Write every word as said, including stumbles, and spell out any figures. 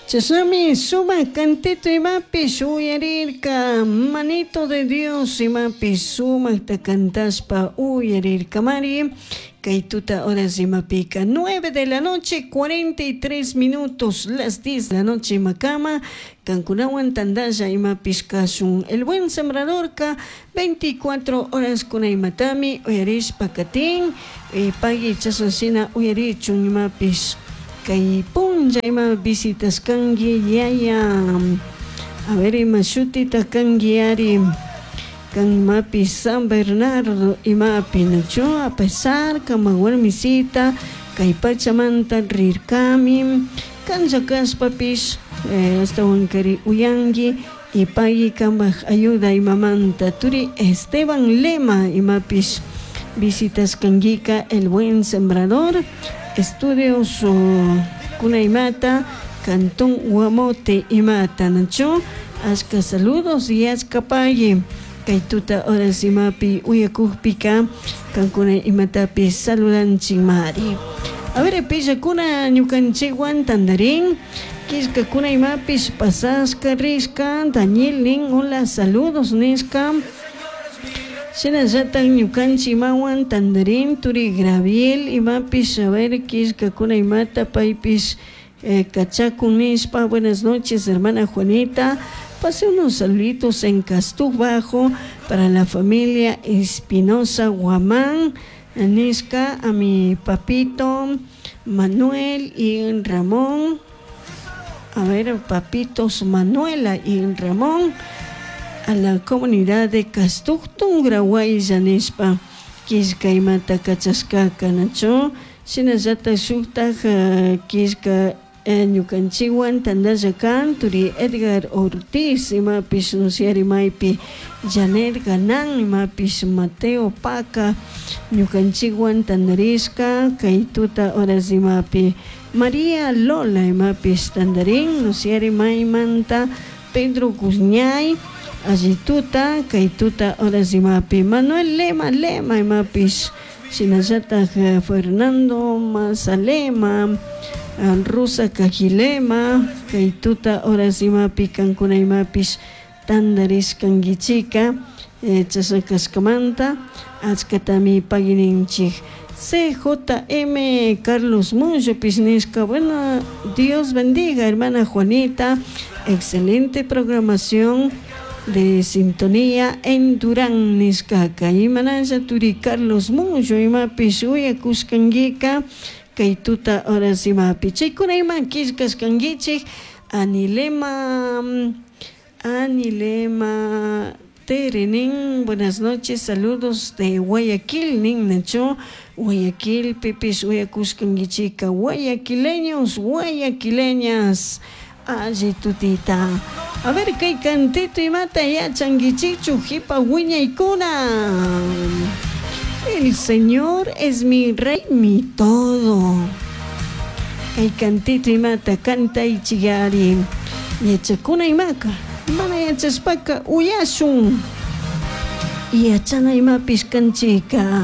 Chashnami sumak cantito imapish uyarirka manito de Dios imapish sumakta cantashpa uyarirkamari kay tuta horas imapika nueve de la noche cuarenta y tres minutos las diez de la noche imakama kankunawan tantalla imapish kashun El Buen Sembradorka veinticuatro horas kuna imatami uyarishpa katin pagui chashna shina uyarichun imapish kay punlla ima visitashkanki yaya a ver ima shutita kanki ari kan imapish San Bernardo imapi nachu a pesar kama warmisita kay pachamanta rirkami kanlla kashpapish ashtawankari uyanki y pagui kanpak ayuda imamanta turi Esteban Lema imapish visitashkankika El Buen Sembrador Estudios kuna imata Cantón Guamote imata nachu ashka saludos y ashka pagui kay tuta horas imapi uyakukpika kankuna imatapish saludanchikmari a ver pillakuna ñukanchikwan tandarin killkakuna imapish pasashka rishka Daniel nin hola saludos nishka shinallatak ñukanchik imawan tandarin turi Graviel imapish a ver killkakuna imata paypish kachakun nishpa buenas noches hermana Juanita pase unos saluditos en Castuj Bajo para la familia Espinosa Guamán nishka a mi papito Manuel y Ramón a ver papitos Manuela y Ramón a la comunidad de Castuj Tungrahuaylla nishpa killka imata kachashkaka nachu shinallatak shuktak killka ñukanchikwan tantalla kan turi Edgar Ortiz imapish nusiari maypi Janet Ganan imapish Mateo Paca ñukanchikwan tantarishka kay tuta horas imapi María Lola imapish tantarin nusiari maymanta Pedro Guzñay alli tuta kay tuta horas imapi Manuel Lema Lema imapish shinallatak Fernando Mazalema Rosa Cajilema kay tuta horas imapi kankuna imapish tantarishkankichika chashna kashkamanta achkatami paguininchik C J M Carlos Mullopish nishka bueno Dios bendiga hermana Juanita excelente programación de sintonía en Durán nishkaka imanalla turi Carlos Mullo imapish uyakushkankika kay tuta horas imapi chaykuna ima killkashkankichik Anilema Anilema Tere nin buenas noches saludos de Guayaquil nin nachu Guayaquil pipish uyakushkankichika guayaquileños guayaquileñas alli tutita a ver kay cantito imata yachankichikchu jipa wiñaykuna El Señor es mi rey, mi todo. Kay cantito imata cantaychiyari yachakuna imaka mana yachashpaka uyashun yachana imapish kanchika.